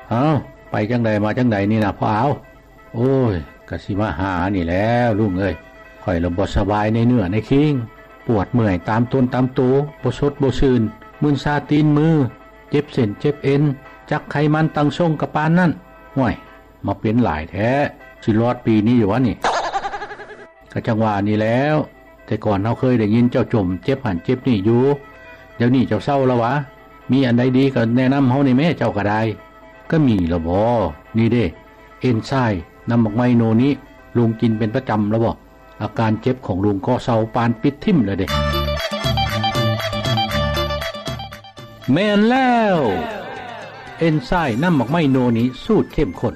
ເອົ້າ, ໄປຈັ່ງໃດມາຈັ່ງໃດນີ້ນະພໍ່ອາວ? ໂອ້ຍ, ກະຊິມາຫານີ້ແຫຼ້ວລຸງເອີຍ. ຂ້ອຍລະບໍ່ສະບາຍໃນເນື້ອໃນຄີງ, ປວດເມື່ອຍຕາມຕົນຕາມໂຕ, ບໍ່ສົດບໍ່ຊື່ນ, ມຶນຊາຕີນມື, ເຈັບເສັ້ນເຈັບເອັນ, ຈັກໄຂມັນຕັ້ງຊົງກະປານນັ້ນ. ຫ້ວຍ, ມາເປັນຫຼາຍແທ້, ຊິລອດປີນີ້ຢູ່ຫວານີ້? ກະຈັ່ງວ່ານີ້ແຫຼ້ວ, ແຕ່ກ່ອນເຮົາເຄີຍໄດ້ຍິນເຈົ້າຈົ່ມເຈັບຫັ້ນເຈັບນີ້ຢູ່, ດຽວນີ້ເຈົ້າເຊົາລະຫວາ? ມີອັນໃດດີກະແນະນຳເຮົາແດ່ແມ້ ເຈົ້າກະໄດ້. ກະມີລະບໍ? ນີ້ເດ້, ເອັນຊາຍນ້ຳໝາກໄມ້ໂນນິ, ລຸງກິນເປັນປະຈຳລະບໍ? ອາການເຈັບຂອງລຸງກໍເຊົາປານປິດຖິ້ມລະເດ້. ແມ່ນແລ້ວ! ເອັນຊາຍນ້ຳໝາກໄມ້ໂນນິສູດເຂັ້ມຂຸ້ນ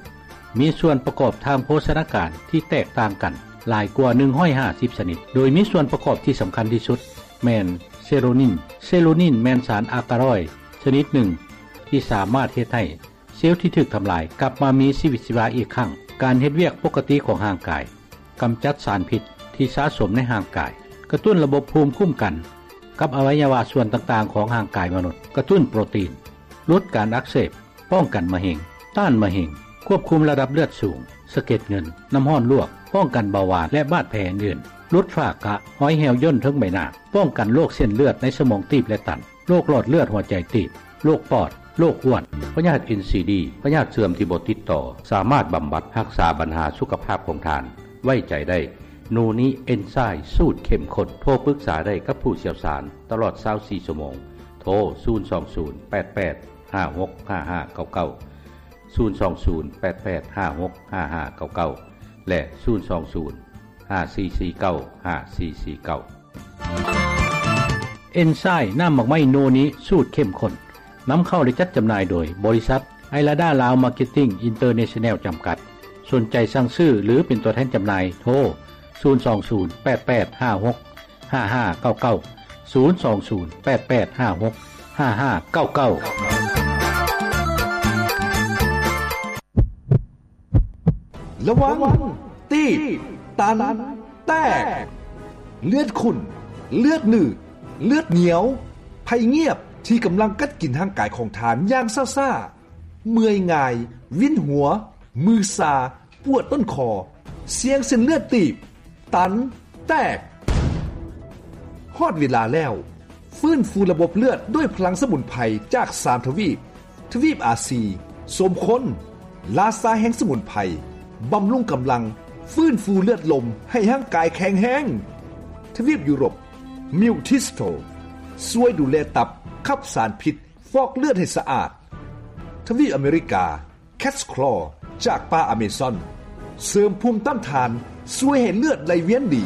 ມີສ່ວນປະກອບທາງໂພຊະນາການທີ່ແຕກຕ່າງກັນຫຼາຍກວ່າໜຶ່ງຮ້ອຍຫ້າສິບຊະນິດ, ໂດຍມີສ່ວນປະກອບທີ່ສຳຄັນທີ່ສຸດແມ່ນເຊໂຣນິນ. ເຊໂຣນິນແມ່ນສານອາກາຣອຍຊະນິດໜຶ່ງທີ່ສາມາດເຮັດໃຫ້ເຊວທີ່ຖືກທຳລາຍກັບມາມີຊີວິດຊີວາອີກຄັ້ງ, ການເຮັດວຽກປົກກະຕິຂອງຮ່າງກາຍ, ກຳຈັດສານພິດທີ່ສະສົມໃນຮ່າງກາຍ, ກະຕຸ້ນລະບົບພູມຄຸ້ມກັນກັບອະໄວຍະວະສ່ວນຕ່າງໆຂອງຮ່າງກາຍມະນຸດ, ກະຕຸ້ນໂປຣຕີນ, ຫຼຸດການອັກເສບ, ປ້ອງກັນມະເຮັງ, ຕ້ານມະເຮັງ, ຄວບຄຸມລະດັບເລືອດສູງ, ສະເກັດເງິນ, ນ້ຳຮ້ອນລວກ, ປ້ອງກັນເບົາຫວານ ແລະ ບາດແຜອື່ນໆ, ຫຼຸດຝ້າກະ, ຮອຍແຫ້ວຍ່ນເທິງໃບໜ້າ, ປ້ອງກັນໂລກເສັ້ນເລືອດໃນສະໝອງຕີບ ແລະ ຕັນ, ໂລກຫຼອດເລືອດຫົວໃຈຕີບ, ໂລກປອດ, ໂລກອ້ວນ, ພະຍາດເອັນຊີດີ, ພະຍາດເສື່ອມທີ່ບໍ່ຕິດຕໍ່, ສາມາດບຳບັດຮັກສາບັນຫາສຸຂະພາບຂອງທ່ານ. ໄວ້ໃຈໄດ້, ໂນນິເອັນຊາຍສູດເຂັ້ມຂຸ້ນ. ໂທປຶກສາໄດ້ກັບຜູ້ຊ່ຽວຊານຕະຫຼອດຊາວສີ່ຊົ່ວໂມງ. ໂທ ສູນສອງສູນ ແປດແປດ ຫ້າຫົກຫ້າຫ້າເກົ້າເກົ້າ, ສູນສອງສູນ ແປດແປດ ຫ້າຫົກຫ້າຫ້າເກົ້າເກົ້າ ແລະ ສູນສອງສູນ ຫ້າສີ່ສີ່ເກົ້າ ຫ້າສີ່ສີ່ເກົ້າ. ເອັນຊາຍນ້ຳໝາກໄມ້ໂນນິສູດເຂັ້ມຂຸ້ນ ນຳເຂົ້າ ແລະ ຈັດຈຳໜ່າຍໂດຍບໍລິສັດໄອລາດາລາວມາເກັດຕິ້ງອິນເຕີເນຊັນແນວຈຳກັດ. ສົນໃຈສັ່ງຊື້ ຫຼື ເປັນຕົວແທນຈຳໜ່າຍ ໂທ ສູນສອງສູນ ແປດແປດ ຫ້າຫົກ ຫ້າຫ້າເກົ້າເກົ້າ, ສູນສອງສູນ ແປດແປດ ຫ້າຫົກ ຫ້າຫ້າເກົ້າເກົ້າ. ລະວັງ ຕີບ ຕັນ ແຕກ, ເລືອດຂຸ້ນ, ເລືອດໜືດ, ເລືອດໜຽວ, ໄພງຽບທີ່ກຳລັງກັດກິນຮ່າງກາຍຂອງທ່ານຢ່າງຊ້າໆ, ເມື່ອຍງ່າຍ, ວິນຫົວ, ມືຊາ, ປວດຕົ້ນຄໍ, ສ່ຽງເສັ້ນເລືອດຕີບ, ຕັນ, ແຕກ. ຮອດເວລາແລ້ວ, ຟື້ນຟູລະບົບເລືອດດ້ວຍພະລັງສະໝຸນໄພຈາກສາມທະວີບ. ທະວີບອາຊີ, ສົມຄົນ, ລາຊາແຫ່ງສະໝຸນໄພ, ບຳລຸງກຳລັງ, ຟື້ນຟູເລືອດລົມໃຫ້ຮ່າງກາຍແຂງແຮງ. ທະວີບຢູໂຣບ, ມິວທິສໂຕ, ຊ່ວຍດູແລຕັບ, ຂັບສານພິດ, ຟອກເລືອດໃຫ້ສະອາດ. ທະວີບອາເມລິກາ, ແຄດສະຄລໍຈາກປ່າອາເມຊອນ, ເສີມພູມຕ້ານທານ, ຊ່ວຍໃຫ້ເລືອດໄຫຼວຽນດີ.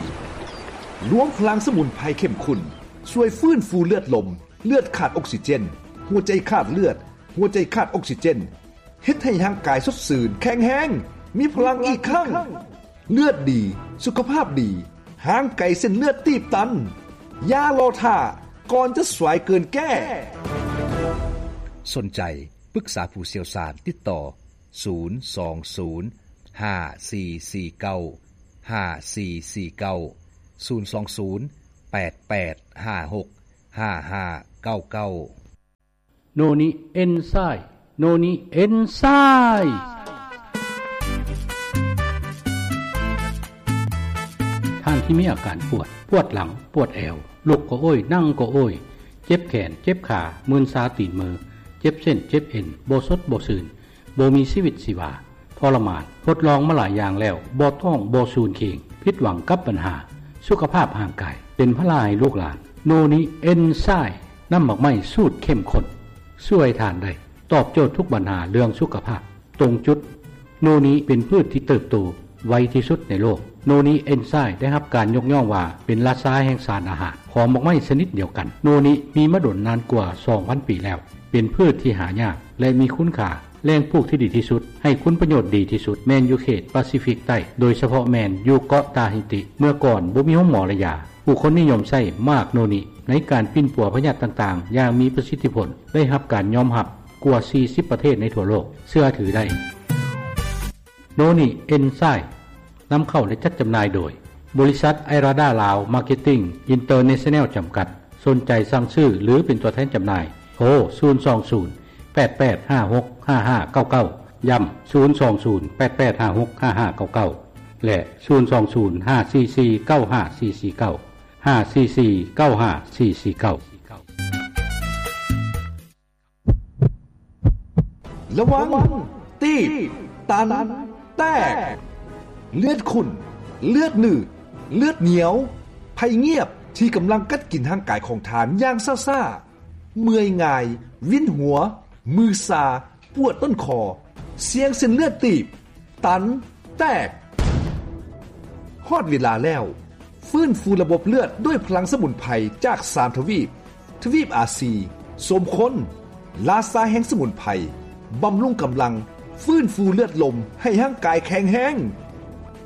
ລວມພະລັງສະໝຸນໄພເຂັ້ມຂຸ້ນ, ຊ່ວຍຟື້ນຟູເລືອດລົມ, ເລືອດຂາດອົກຊີເຈນ, ຫົວໃຈຂາດເລືອດ, ຫົວໃຈຂາດອົກຊີເຈນ, ເຮັດໃຫ້ຮ່າງກາຍສົດຊື່ນ, ແຂງແຮງ, ມີພະລັງອີກຄັ້ງ. ເລືອດດີ, ສຸຂະພາບດີ, ຫ່າງໄກເສັ້ນເລືອດຕີບຕັນ. ຢ່າລໍຖ້າ, ກ່ອນຈະສວຍເກີນແກ້. ສົນໃຈ ປຶກສາຜູ້ຊ່ຽວຊານ, ຕິດຕໍ່ ສູນສອງສູນ ຫ້າສີ່ສີ່ເກົ້າ ຫ້າສີ່ສີ່ເກົ້າ, ສູນສອງສູນ ແປດແປດຫ້າຫົກຫ້າຫ້າເກົ້າເກົ້າ. ໂນນິເອັນຊາຍ, ໂນນິເອັນຊາຍ. ທ່ານທີ່ມີອາການປວດ, ປວດຫຼັງ, ປວດແອວ, ລຸກກໍໂອ້ຍ, ນັ່ງກໍໂອ້ຍ, ເຈັບແຂນ, ເຈັບຂາ, ມຶນຊາຕີນມື, ເຈັບເສັ້ນ, ເຈັບເອັນ, ບໍ່ສົດ, ບໍ່ຊື່ນ, ບໍ່ມີຊີວິດຊີວາ, ທໍລະມານ, ທົດລອງມາຫຼາຍຢ່າງແລ້ວ, ບໍ່ທ້ອງ, ບໍ່ສູນເຄງ, ຜິດຫວັງກັບບັນຫາສຸຂະພາບຮ່າງກາຍ, ເປັນພາລະໃຫ້ລູກຫຼານ. ໂນນິເອັນຊາຍ, ນ້ຳໝາກໄມ້ສູດເຂັ້ມຂຸ້ນ, ຊ່ວຍທ່ານໄດ້, ຕອບໂຈດທຸກບັນຫາເລື່ອງສຸຂະພາບ, ຕົງຈຸດ. ໂນນິເປັນພືດທີ່ເຕີບໂຕໄວທີ່ສຸດໃນໂລກ. ໂນນິເອັນຊາຍໄດ້ຮັບການຍົກຍ້ອງວ່າເປັນລາຊາແຫ່ງສານອາຫານຂອງໝາກໄມ້ຊະນິດດຽວກັນ. ໂນນິມີມາດົນນານກວ່າສອງພັນປີແລ້ວ, ເປັນພືດທີ່ຫາຍາກ ແລະ ມີຄຸນຄ່າ, ແຫຼ່ງປູກທີ່ດີທີ່ສຸດ, ໃຫ້ຄຸນປະໂຫຍດດີທີ່ສຸດ ແມ່ນຢູ່ເຂດປາຊີຟິກໃຕ້, ໂດຍສະເພາະແມ່ນຢູ່ເກາະຕາຮິຕິ. ເມື່ອກ່ອນບໍ່ມີໂຮງໝໍ ແລະ ຢາ, ຜູ້ຄົນນິຍົມໃຊ້ໝາກໂນນິໃນການປິ່ນປົວພະຍາດຕ່າງໆຢ່າງມີປະສິດທິຜົນ, ໄດ້ຮັບການຍອມຮັບກວ່າສີ່ສິບປະເທດໃນທົ່ວໂລກເຊື່ອຖືໄດ້. ໂນນິເອັນຊາຍ ນຳເຂົ້າ ແລະ ຈັດຈຳໜ່າຍໂດຍ ບໍລິສັດໄອລາດາລາວມາເກັດຕິ້ງອິນເຕີເນຊັນແນວຈຳກັດ. ສົນໃຈສັ່ງຊື້ ຫຼື ເປັນຕົວແທນຈຳໜ່າຍ, ໂທ ສູນສອງສູນ ແປດແປດຫ້າຫົກຫ້າຫ້າເກົ້າເກົ້າ ຢ້ຳ ສູນສອງສູນ ແປດແປດຫ້າຫົກຫ້າຫ້າເກົ້າເກົ້າ ແລະ ສູນສອງສູນ ຫ້າສີ່ສີ່ ເກົ້າຫ້າສີ່ສີ່ເກົ້າ ຫ້າສີ່ສີ່ ເກົ້າຫ້າສີ່ສີ່ເກົ້າ. ລະວັງ ຕີບ ຕັນ ແຕກ ເລືອດຂຸ້ນ ເລືອດໜືດ ເລືອດໜຽວ ໄພງຽບທີ່ກຳລັງກັດກິນຮ່າງກາຍຂອງທ່ານຢ່າງຊ້າໆ, ເມື່ອຍງ່າຍ, ວິນຫົວ, ມືຊາ, ປວດຕົ້ນຄໍ, ສ່ຽງເສັ້ນເລືອດຕີບ, ຕັນ, ແຕກ. ຮອດເວລາແລ້ວ, ຟື້ນຟູລະບົບເລືອດດ້ວຍພະລັງສະໝຸນໄພຈາກສາມທະວີບ, ທະວີບອາຊີ, ສົມຄົນ, ລາຊາແຫ່ງສະໝຸນໄພ, ບຳລຸງກຳລັງ, ຟື້ນຟູເລືອດລົມໃຫ້ຮ່າງກາຍແຂງແຮງ.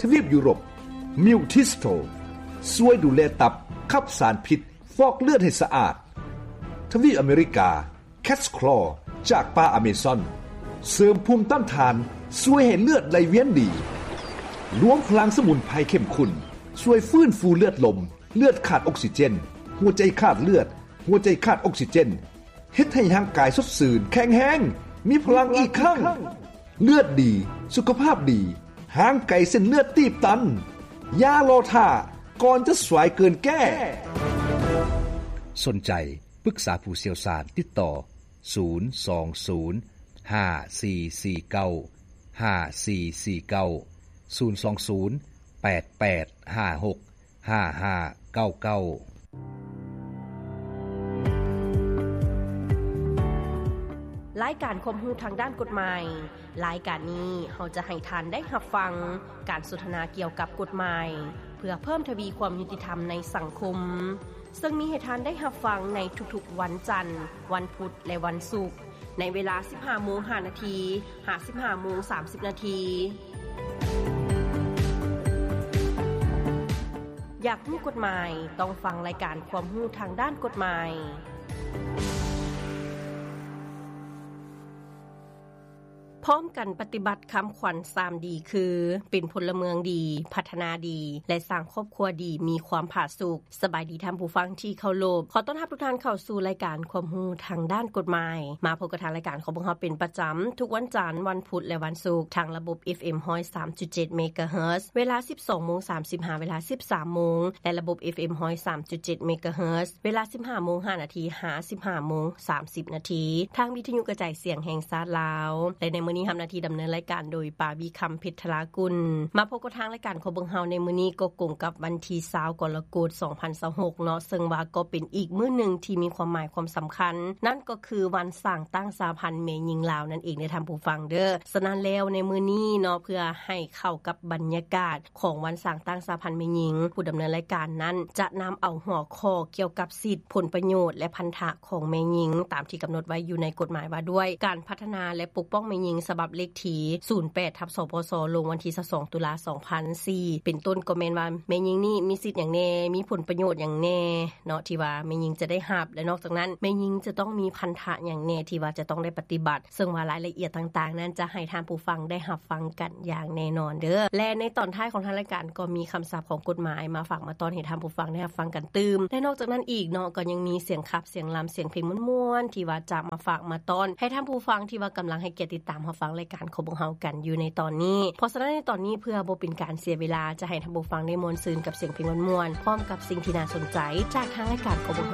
ທະວີບຢູໂຣບ, ມິວທິສໂຕ, ຊ່ວຍດູແລຕັບ, ຂັບສານພິດ, ຟອກເລືອດໃຫ້ສະອາດ. ທະວີບອາເມລິກາ, ແຄດສະຄລໍ ຈາກປ່າອາເມຊອນ, ເສີມພູມຕ້ານທານ, ຊ່ວຍໃຫ້ເລືອດໄຫຼວຽນດີ. ລວມພະລັງສະໝຸນໄພເຂັ້ມຂຸ້ນ, ຊ່ວຍຟື້ນຟູເລືອດລົມ, ເລືອດຂາດອົກຊີເຈນ, ຫົວໃຈຂາດເລືອດ, ຫົວໃຈຂາດອົກຊີເຈນ, ເຮັດໃຫ້ຮ່າງກາຍສົດຊື່ນ, ແຂງແຮງ, ມີພະລັງອີກຄັ້ງ. ເລືອດດີ, ສຸຂະພາບດີ, ຫ່າງໄກເສັ້ນເລືອດຕີບຕັນ. ຢ່າລໍຖ້າ, ກ່ອນຈະສວາຍເກີນແກ້. ສົນໃຈ ປຶກສາຜູ້ຊ່ຽວຊານ, ຕິດຕໍ່ ສູນສອງສູນ ຫ້າສີ່ສີ່ເກົ້າ ຫ້າສີ່ສີ່ເກົ້າ ສູນສອງສູນ ແປດແປດຫ້າຫົກ ຫ້າຫ້າເກົ້າເກົ້າ. ລາຍການຄວາມຮູ້ທາງດ້ານກົດໝາຍ. ລາຍການນີ້ເຮົາຈະໃຫ້ທ່ານໄດ້ຮັບຟັງການສົນທະນາກ່ຽວກັບກົດໝາຍ ເພື່ອເພີ່ມທະວີຄວາມຍຸຕິທຳໃນສັງຄົມ, ເຊິ່ງມີໃຫ້ທ່ານໄດ້ຮັບຟັງໃນທຸກໆວັນຈັນ, ວັນພຸດ ແລະ ວັນສຸກ, ໃນເວລາ ສິບຫ້າໂມງຫ້ານາທີ ຫາ ສິບຫ້າໂມງສາມສິບນາທີ. ຢາກຮູ້ກົດໝາຍ? ຕ້ອງຟັງລາຍການຄວາມຮູ້ທາງດ້ານກົດໝາຍ. ພ້ອມກັນປະຕິບັດຄຳຂວັນສາມດີ ຄື ເປັນພົນລະເມືອງດີ, ພັດທະນາດີ ແລະ ສ້າງຄອບຄົວດີ ມີຄວາມຜາສຸກ. ສະບາຍດີທ່ານຜູ້ຟັງທີ່ເຄົາລົບ. ຂໍຕ້ອນຮັບທຸກທ່ານເຂົ້າສູ່ລາຍການຄວາມຮູ້ທາງດ້ານກົດໝາຍ. ມາພົບກັບທາງລາຍການຂອງພວກເຮົາເປັນປະຈຳ ທຸກວັນຈັນ, ວັນພຸດ ແລະ ວັນສຸກ ທາງລະບົບ ເອັຟເອັມ ຮ້ອຍສາມຈຸດເຈັດ ເມກາເຮີດ ເວລາ ສິບສອງໂມງສາມສິບ ຫາ ເວລາ ສິບສາມໂມງ ແລະ ລະບົບ ເອັຟເອັມ ຮ້ອຍສາມຈຸດເຈັດ ເມກາເຮີດ ເວລາ ສິບຫ້າໂມງຫ້ານາທີ ຫາ ສິບຫ້າໂມງສາມສິບນາທີ ທາງວິທະຍຸກະຈາຍສຽງແຫ່ງຊາດລາວ ແລະ ໃນມື້ນີ້ຮັບໜ້າທີ່ດຳເນີນລາຍການໂດຍ ປາວີຄຳ ເພັດທະລາກຸນ. ມາພົບກັບທາງລາຍການຂອງພວກເຮົາໃນມື້ນີ້ ກໍກົງກັບວັນທີ ຊາວ ກໍລະກົດ ສອງພັນຊາວຫົກເນາະ, ເຊິ່ງວ່າກໍເປັນອີກມື້ໜຶ່ງທີ່ມີຄວາມໝາຍຄວາມສຳຄັນ, ນັ້ນກໍຄືວັນສ້າງຕັ້ງສະຫະພັນແມ່ຍິງລາວນັ້ນເອງເດີທ່ານຜູ້ຟັງເດີ. ສະນັ້ນແລ້ວໃນມື້ນີ້ເນາະ ເພື່ອໃຫ້ເຂົ້າກັບບັນຍາກາດ ຂອງວັນສ້າງຕັ້ງສະຫະພັນແມ່ຍິງ, ຜູ້ດຳເນີນລາຍການນັ້ນຈະນຳເອົາຫົວຂໍ້ກ່ຽວກັບສິດ, ຜົນປະໂຫຍດ ແລະ ພັນທະຂອງແມ່ຍິງ ຕາມທີ່ກຳນົດໄວ້ຢູ່ໃນກົດໝາຍວ່າດ້ວຍການພັດທະນາ ແລະ ປົກປ້ອງແມ່ຍິງ ສະບັບເລກທີ ສູນແປດ ທັບ ສປສ ລົງວັນທີ ຊາວສອງ ຕຸລາ ສອງພັນສີ່ ເປັນຕົ້ນກໍແມ່ນວ່າແມ່ຍິງນີ້ມີສິດຫຍັງແດ່, ມີຜົນປະໂຫຍດຫຍັງແດ່ເນາະ ທີ່ວ່າແມ່ຍິງຈະໄດ້ຮັບ ແລະ ນອກຈາກນັ້ນແມ່ຍິງຈະຕ້ອງມີພັນທະຫຍັງແດ່ທີ່ວ່າຈະຕ້ອງໄດ້ປະຕິບັດ. ເຊິ່ງວ່າລາຍລະອຽດຕ່າງໆນັ້ນຈະໃຫ້ທ່ານຜູ້ຟັງໄດ້ຮັບຟັງກັນຢ່າງແນ່ນອນເດີ. ແລະ ໃນຕອນທ້າຍຂອງທາງລາຍການກໍມີຄຳສັບຂອງກົດໝາຍມາຝາກມາຕ້ອນໃຫ້ທ່ານຜູ້ຟັງໄດ້ຮັບຟັງກັນຕື່ມ. ແລະ ນອກຈາກນັ້ນອີກເນາະ ກໍຍັງມີສຽງຂັບ, ສຽງລຳ, ສຽງເພງມ່ວນໆ ທີ່ວ່າຈະມາຝາກມາຕ້ອນໃຫ້ທ່ານຜູ້ຟັງທີ່ວ່າກຳລັງໃຫ້ກຽດຕິດຕາມຮັບຟັງລາຍການຂອງພວກເຮົາກັນຢູ່ໃນຕອນນີ້. ເພາະສະນັ້ນໃນຕອນນີ້ ເພື່ອບໍ່ເປັນການເສຍເວລາ ຈະໃຫ້ທ່ານຜູ້ຟັງໄດ້ມ່ວນຊື່ນກັບສຽງເພງມ່ວນໆ ພ້ອມກັບສິ່ງທີ່ໜ້າສົນໃຈຈາກທາງລາຍການຂອງພວກເຮົ